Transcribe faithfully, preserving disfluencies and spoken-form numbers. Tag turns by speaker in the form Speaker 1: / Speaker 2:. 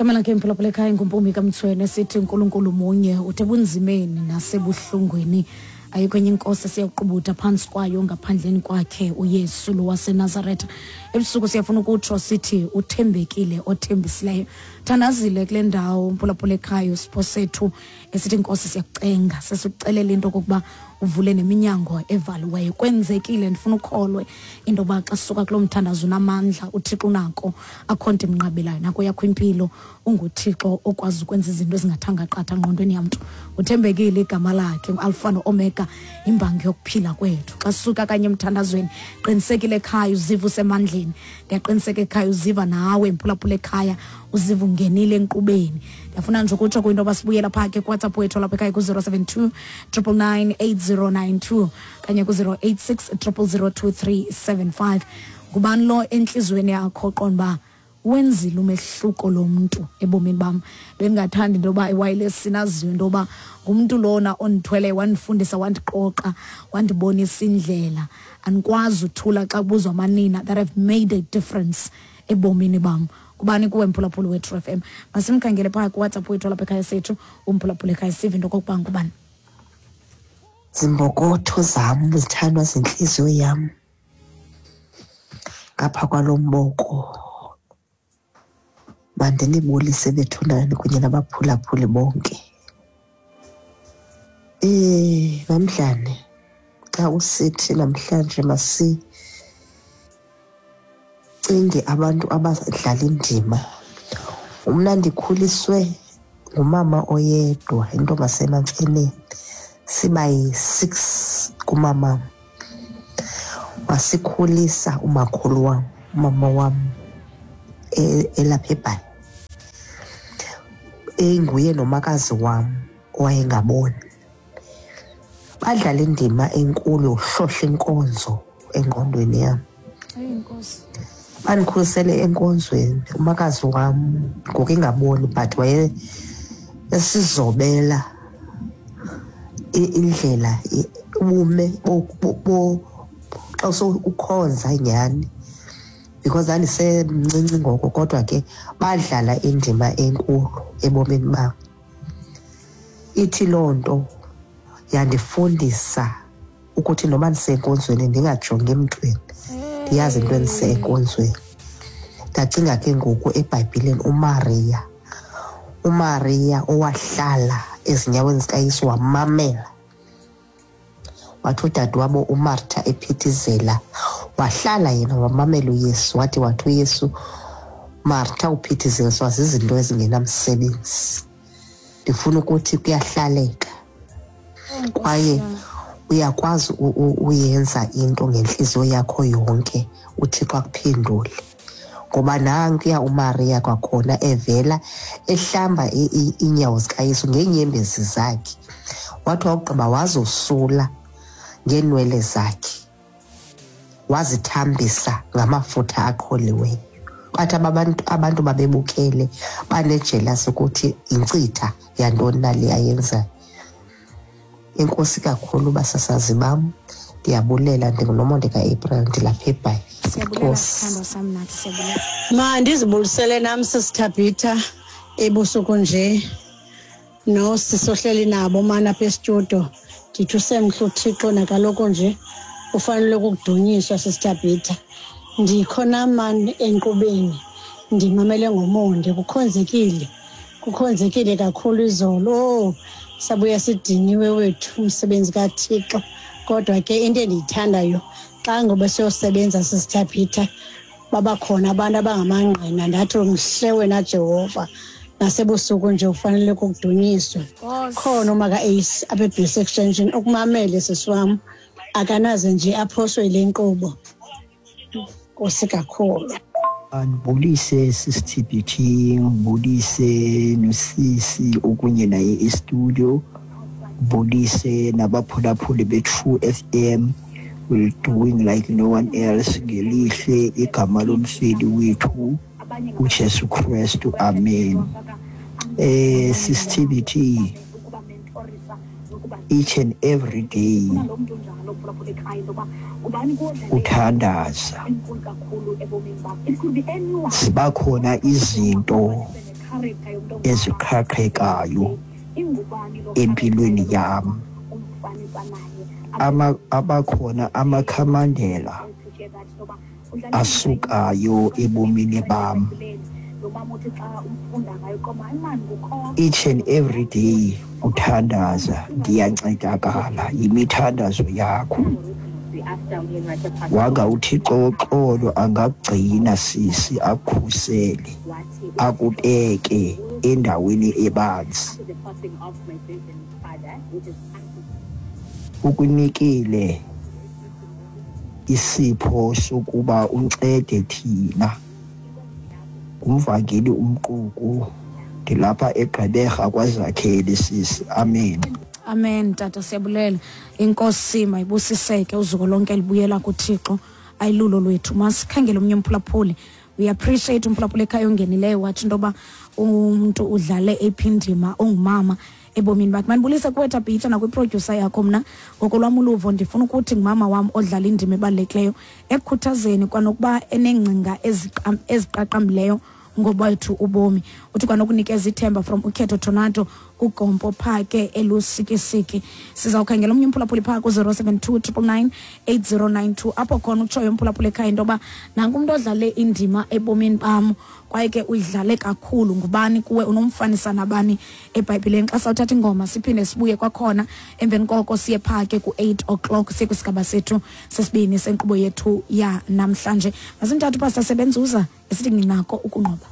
Speaker 1: Igama lakhe, mphulaphula ekhaya, nguMpumi kaMthweni. Sithi uNkulunkulu munye, uthe bunzimeni nasebuhlungwini ayikho enye inkosi esiyakuqubuda phantsi kwayo ngaphandleni kwakhe uYesu lo waseNazaretha. Ebusuku siyafuna ukutsho sithi uthembekile othembisileyo. Thandazile kule ndawo, mphulaphula ekhaya, usipho sethu esithi, Nkosi, siyakucenga, sesikucelela into okokuba uvule neminyango evaliweyo. Kwenzekile. Ndifuna ukholwe into yoba xa sisuka kuloo mthandazo unamandla, uThixo unako, akho nto imnqabelayo nako yakho impilo. UnguThixo okwazi ukwenza izinto ezingathanga qatha ngqondweni yamntu. Uthembekile, igama lakhe nguAlfa no-Omega, imbangi yokuphila kwethu. Xa sisuka kanye emthandazweni, qinisekile ekhaya uziva usemandleni. Ndiyaqiniseka ekhaya uziva nawe, mphulaphula ekhaya, uziva ungenile enkqubeni. Ndiyafuna nje ukutsho kwinto yoba sibuyela phaa ke kuWhatsApp wethu lapha ekhaya ku-zero seven two triple nine eight zero nine two kanye ku-zero eight six triple zero two three seven five. Ngubani lo entliziyweni yakho qonda uba wenzile umehluko lo mntu ebomini bam? Bendingathanda into yoba ewayilesini aziwe into yoba ngumntu lona ondithwele, wandifundisa, wandiqoqa, wandibonisa indlela. Andikwazi uthula xa kubuzwa amanina that have made a difference ebomini bam. Kubani kuwe, mphulaphuli weTru F M? Masimkhangele phaa kuWhatsApp wethu lapha ekhaya sethu umphulaphula ekhaya, sive into okokuba ngubani.
Speaker 2: Zimbokotho zam, zithandwa zintliziyo yam, ngapha kwalo mboko mandinibulise bethunani kunye nabaphulaphuli bonke. Eh namhlanje xa usithi namhlanje masicinge abantu abadlala indima, mna ndikhuliswe ngumama oyedwa, intombazana, siba yi-six kumama. Wasikhulisa umakhulu wam, umama wam elapha eBhayi, inguye nomakazi wam owayengaboni. Badlala indima enkulu yokuhlohla inkonzo engqondweni yam. Bandikhulisele enkonzweni. Umakazi wam ngoku engaboni, but waye esizobela indlela, ubume xa ukhonza nyhani, because ndandisemncinci ngoko. Kodwa ke badlala indima enkulu ebomini bam. Ithi loo nto yandifundisa ukuthi noba ndisenkonzweni ndingajongi emntwini, ndiyazi into endisenkonzweni. Ndacinga ke ngoku eBhayibhileni uMariya, uMariya owahlala ezinyaweni zikaYesu wamamela. Wathi udadewabo uMartha ephithizela, wahlala yena wamamela uYesu. Wathi wathi uYesu, "Martha, uphithizeliswa zizinto ezingenamsebenzi." Ndifuna ukuthi kuyahlaleka kwaye uyakwazi uyenza into ngentliziyo yakho yonke, uThixo akuphendule. Ngoba nankuya uMariya kwakhona evela ehlamba iinyawo zikaYesu ngeenyembezi zakhe, wathi wakugqiba wazosula ngeenwele zakhe, wazithambisa ngamafutha aqholiweyo. Bathi abantu abantu babebukele banejelasi ukuthi yinkcitha yantoni na le ayenzayo. Enkosi kakhulu, basasazi bam, ndiyabulela. NdinguNomonde kaApril, ndilapha eBhayi.
Speaker 1: Siyabulela, sithandwa sam, nathi siyabulela.
Speaker 3: Ma ndizibulisele nam, sisithabhitha, ebusuku nje nosisohleli nabo mana apha estudio. Ndithi usemhle uThixo, nakaloku nje ufanele ukudunyiswa. Sisithabhitha, ndikho nam mani enkqubeni, ndimamele ngomonde. Kukhonzekile, kukhonzekile kakhulu izolo. Oh, sabuya sidiniwe wethu, umsebenzi kaThixo. Kodwa ke into endiyithandayo, xa ngoba siyosebenza, sisithaphitha, babakhona abantu abangamangqina. Ndathi mhle wena Jehova, nasebusuku nje ufanele ukudunyiswa. Khona umaka Ace apha eBase Extension ukumamele, sisi wam, akanaze nje aphoswe yile nkqubo. Nkosi kakhulu.
Speaker 4: Andibulise, sisi T B T, ngibulise nosisi okunye naye e-studio, ngibulise nabaphulaphuli be-True F M. We're doing like no one else. Ngelihle igama lomfeli wethu uJesu Kristu, amen. eh sisi T B T, each and every day uthandaza ziba khona izinto eziqhaqhekayo empilweni yam. Ama, abakhona amakhamandela asukayo ebomini bam. Each and every day uthandaza, ndiyancedakala yimithandazo yakho. Wanga uThixo woxolo angakugcina sisi, akukhusele, akubeke endaweni ebanzi. Ukunikile isipho sokuba uncede thina. Ngumvangeli Umquku, ndilapha eGqeberha kwaZakhele sisi. Amen.
Speaker 1: Amen tata, siyabulela. Inkosi mayibusiseke, uzuko lonke libuyela kuThixo, ayilulo lwethu. Masikhangele omnye umphulaphuli. We appreciate umphulaphuli ekhaya ongenileyo watsho into yoba umntu udlale eyiphi indima ongumama ebomini bakhe. Mandibulise kuwe Thabitha nakwiprodyusa yakho. Mna ngokolwam uluvo ndifuna ukuthi ngumama wam odlala indima ebalulekileyo ekukhuthazeni kwanokuba eneengcinga eziqaqambileyo ngobethu ubomi. Uthi kwanokunikeza ithemba from ukhetho Tornado kuGompo Phake eLusikisiki. Sizawukhangela omnye umphulaphuli phaa ku-zero seven two triple nine eight zero nine two, apho khona utshoyo umphulaphuli ekhaya into yoba nanku umntu odlale indima ebomini bam kwaye ke uyidlale kakhulu. Ngubani kuwe, unomfanisa nabani eBhayibhileni? Xa sawuthatha ingoma siphinde sibuye kwakhona, emveni koko siye phaa ke ku-eight o'clock, siye kwisigaba sethu sesibini senkqubo yethu yanamhlanje. Masimthathe uPastor Sebenzuza esithi nginako ukunqoba.